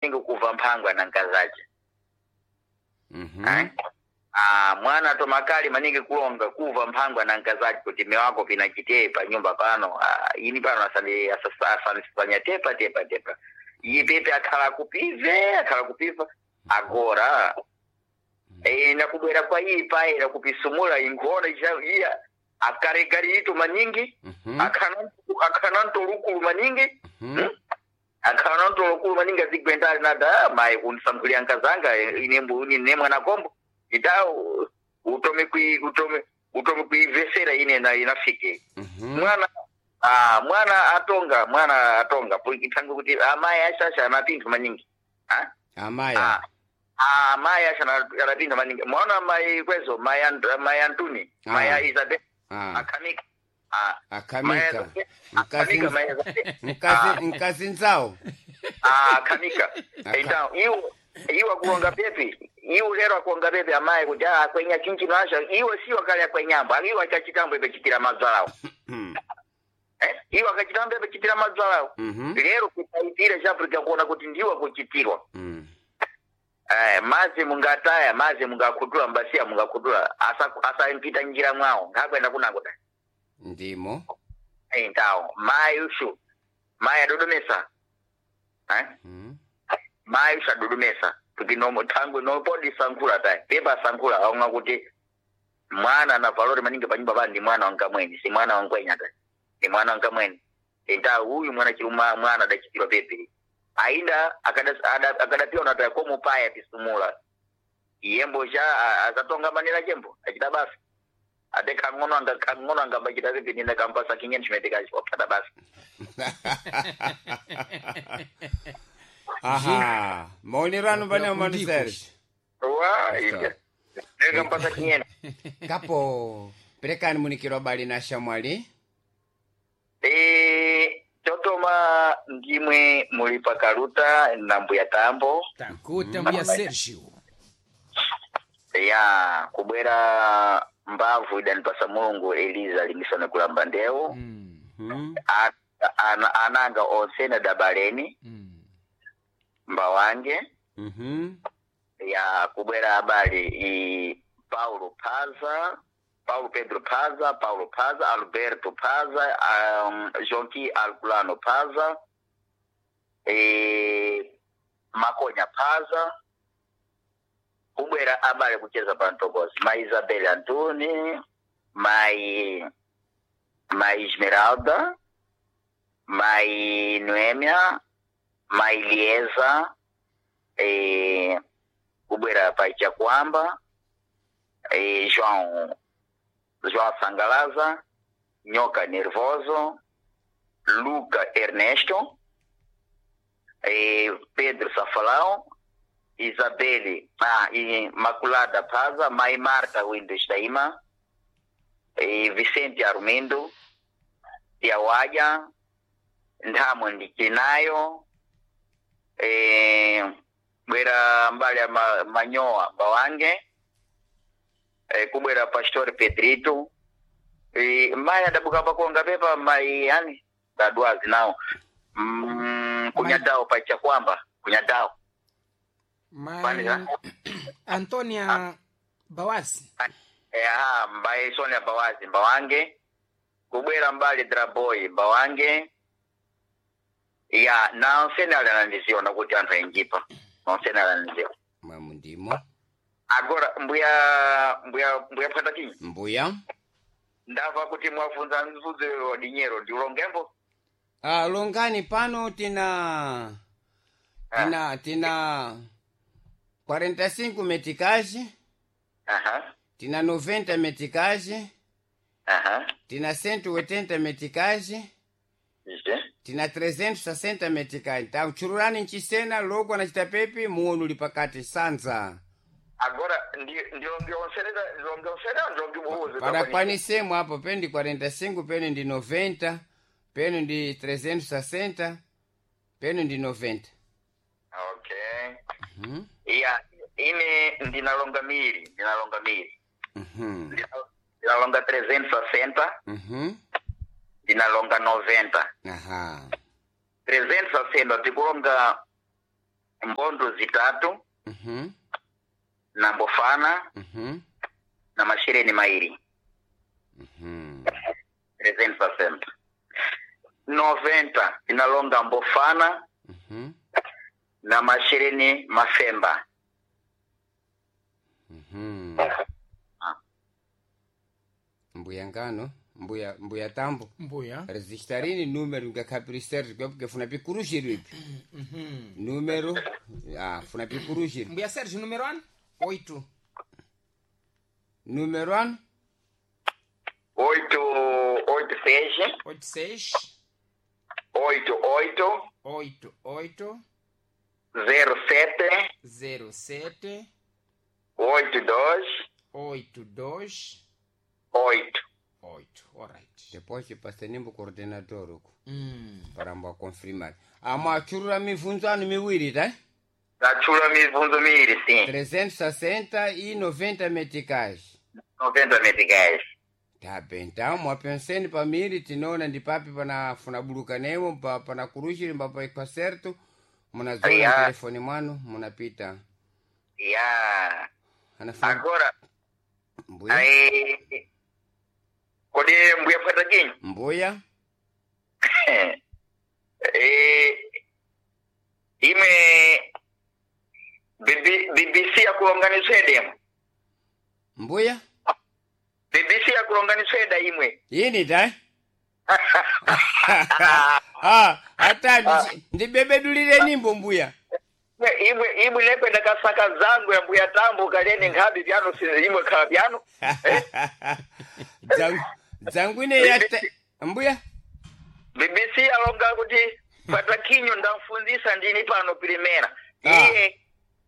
Maningi kuva mphangwa na nkazace. Mhm. Eh? Ah, mwana tomakali maningi kulonga kuva mphangwa na nkazace kuti mme wako pinachitee pa nyumba pano. Ah, ini pano asani asani tepa tepa tepa iye pepe akhala kupive akhala kupiva agora e, nakubwera kwa iyi paera kupisumula inkhona iya akaregarito maningi. Mhm. Akhana ntolukulu maningi. Mhm. Akhana ntolukulu maningi azigwendali nada, "Ah, mayi kundisankhulira nkazanga ine ine mwana kombo ita utome kui utome utome kuivesera ine na inafike." Mhm. Mwana ah, mwana atonga mwana atonga ithange kuti amayi ashasha anapinthu maningi. Ah? Amaya. Ah, ah, amayi asha anapinthu maningi mwaona mayi kwezo mayi mayi Antuni. Ah. Mayi Isabel. Ah. Akhamika ah. Akamika. Akhamika. Mkazi Mayi Isabel. mkazi mkazi nzawo. Ah, akhamika. Então iwo iwo akulonga pepi iwo lero akulonga pepi amayi kuti ah, akwenya chinchino asha iwo siwo kale akwenyambo iwo achachitambo ipechitira madzalawo. Eh? Iwo akachitambo ipechitira madzalawo. Mhm. Lero kutaitira cha Africa kuona kuti ndiwo akuchitirwa. Mm. Eh, mazi mungataya mazi mungakhutula mbasiya mungakhutula asampita njira mwawo ngakwenda kunako da. Ndimo. Então mayi ushu mayi adodomesa, eh? Mm. Mayi ushu adodomesa kuti nomo thangwe nopodi sankhula tayi pepa sankhula aonga kuti mwana na valori maningi panyumba pa ndi mwana wankamweni si mwana wankwenya tayi ndi mwana wankamweni enta uyu mwana chiluma mwana adachitirwa pepe ainda akadapiwa nata komo paya pisumula iyembo cha azatonga manera chembo achita basa ate khang'ono anga khang'ono anga bachita pepe nina kampasa kinyeni chimetekachi waphata basa. Aha. Maonerano pane mano Serge. Wa Ita. nekampasa kinyeni. Kapo perekani munikiro bali na shamwali. Eh, totoma ndimwe muli pakaluta na mbuya tambo. Takuta mbuya Sergio. Ya kubwera mbavu idanipasa Mulungu Eliza limisone kulamba ndewu. Mm. Mhm. Ananga onse na dabaleni. Mbawange. Mhm. Ya kubwera abali i Paulo Paza Paulo Pedro Paza Paulo Paza Alberto Paza Jonqui Alculano Paza e, Makonya Paza kubwera abale kucheza pa Ntokozi mai Isabel Antoni mai mai Esmeralda mai Noemia mai Lieza e, kubwera pa Chakwamba e, João João Sangalaza Nhoca Nervoso Luca Ernesto e, Pedro Safalão Isabelle ah, e Maculada Paza Mai Marta Windows Daima e Vicente Armindo Tiawaja Nthamo Ndichinayo e, bwera mbali ya Manyoa Bawange e, kubwera Pastor Pedrito e, mai adabuka pakuonga pepa mai yani dadwazi nawo kunyadao pa Chakwamba kunyadao. Mai Panira. Antonia Bawasi. Eha mbaye Sonia Bawazi Mbawange kubwera mbali Draboy Mbawange ya naonsene ali anandiziona kuti anthu ainjipa naonsene ali anandiziona. Mwamu ndimo. Agora mbuya mbuya mbuya phwata Mbuya. ndamva kuti mwafunza mzudzo wa dinyero ndi ulongembo. Ah, longani pano tina tina tina 45 meticage. Aha. Tina 90 meticage. Aha. Tina 180 meticage. Ije. Tina 360 meticage tauchururani nchisena logo anachita pepi muonu uli pakati sanza. Agora ndilongeonserera ndilongeonserera ndilongebuuze. Padakwanisemo apo pene ndi 45 pene ndi 90 pene ndi 360 pene ndi 90. Okay. Mhm. Ya ine ndinalonga miri ndinalonga miri. Mhm. Ndinalonga 360. Mhm. Ndinalonga 90. Aha. 360 tikulonga. Mbondo zitatu Mhm. na mbofana Mhm. na mashereni mairi. Mhm. 360. 90 inalonga mbofana Mhm. na mashereni mafemba. Mhm. Mbuya ngano, mbuya mbuya tambo. Mbuya. Registarini número ngakapiri Sergio porque funa pikurushiro ipi. Número, ah, funa pikurushiro. Mbuya Sergio, número 1? 8. Número ano? 8 86 86 88 88 07 07 82 82 8. 8. Alright. Depois pasenimbo coordenador uko. Mm. Paramba confirmar. Amachurura mivunzo anu miwiri tá? Nachula mivunzo miiri sim. 360 e 90 meticais. 90 meticais. Tá bem, então mwapenseni pamiri tinoona ndi papi panafuna buluka nemo pa, pana kurushiri mbapa kwa certo munazona Ya. telefoni mwanu munapita Ya. anafuna Agora mbuya ai kodi mbuya pata kinyi? mbuya Eh, ime BB, BBC yakulonganisweda imwe. mbuya BBC yakulonganisweda imwe. yini ta ah hata ndibebedulire nimbo mbuya Imwe imwe imwe nekwenda kasaka zangu ya mbuya tambo kalene nkhabi byano si imwe khala byano. Dzangu- dzangwine yata mbuya BBC alonga kuti patakinyo ndamfunzisa ndini pano pirimera. Ah. Iye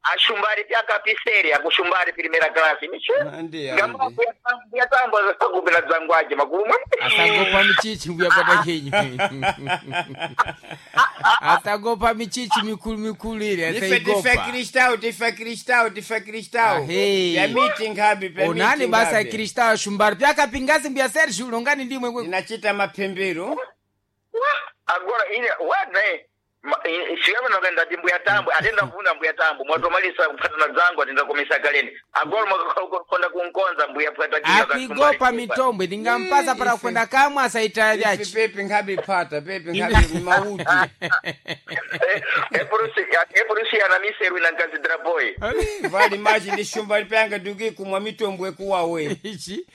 ashumbari pyakapiseri akushumbari pirimera klasi. Miche. Andi, Ngamba andi. mbuya tambo akupela dzangu aje makumwe. Asagopa michichi mbuya pata kinyi. Atagopa michichi mikulu mikulu ile Ndife tife ataigopa. Cristão, tife Cristão, tife Cristão. Ahei. Pya meeting habi, pya Onani meeting basa ya habi. Kristao shumbari pyakapingazi mbuya Sergio ulongani ndimwe kwe. Tinachita mapembero. Agora ine wane siyamene ndati mbuya tambo atenda kuvuna mbuya tambo mwatomalisa kuphatana dzangu atenda komesa kaleni agora mwakakonda kunkonza mbuya patakinyo Akuigopa mitombwe ndingampasa para Ife. kwenda kamwe asaita Ife vyachi. pepe nkhabi phata, pepe nkhabi mauti. epurusi ana miseru ina nkazidra boy Vali maji ndi shumba lipyanga duki kumwa mitombwe kuwawe. Ichi.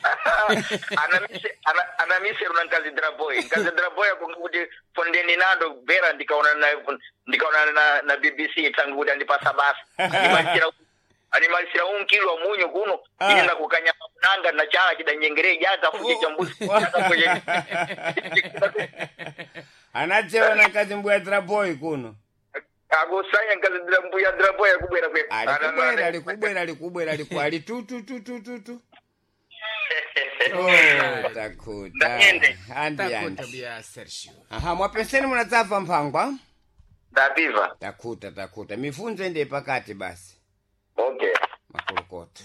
Ana miseru na nkazidra boy nkazidra boy akunga kuti fondeni nando bera ndikaonana na ndikaonana na BBC tangu kuti andipasa basa animalisira animalisira unkilo wa munyu kuno Ah. ine ndakukanyama kunanga na chala chidanyengere jaka fuche cha mbuzi jaka fuche Anadzewa na nkazi mbuya draboy kuno. akusanya nkazidra mbuya draboy akubwera kwe Alikubwera, alikubwera, alikubwera, aliku ali tu tu tu tu tu tu. Oh, takuta. Ndayende. Andi Takuta andi. mbuya Sergio. Aha, mwapenseni munadzabva mphangwa? Ndapiva. Takuta, takuta. Mifunzo ende pakati basi. Okay. Makolokoto.